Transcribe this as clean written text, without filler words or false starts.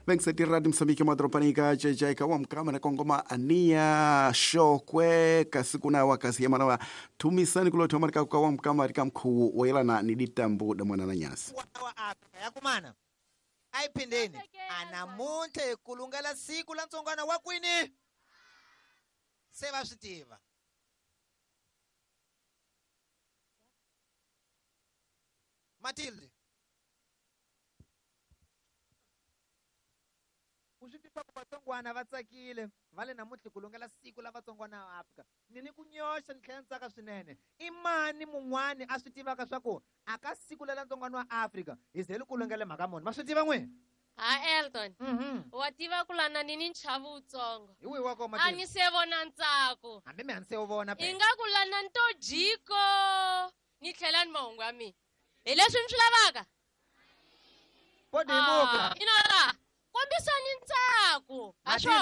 27 Radio Msambiki madropanika jejaika wa mkama na kongoma ania shokwe kasiku na wakasi ya manawa tumisani kulo marika kwa wa mkama rika mkuu wailana ni ditambu da mwana na nyasi wa Afrika yakumana ayiphindeni anamuntlha ku lungela siku la ntsongwana wa kwini se va swi tiva. Matilde, u swi tiva ku vatsongwana va tsakile va le namuntlha ku lungela siku la vatsongwana va Afrika. Ni ni ku nyoxa ni tlhela ni tsaka swinene. I mani mun'wani a swi tivaka swa ku a ka siku lela ntsongwana wa Afrika hi ze li ku lungele mhaka muni? Ma swi tiva n'wina? Ha Elton, wa tiva ku lana ni ni nchavo wutsongo. Hi wihi wa kona, A Matilde? ni se vona ntsako. Hambi mi a ni se wu vona phela. I nga ku lana ni to jiko ni tlhela ni mahungu ya mina. Hi leswi ni swi lavaka? Podimuka. Ina, kombisani ntsako. Ha Matilde, swo?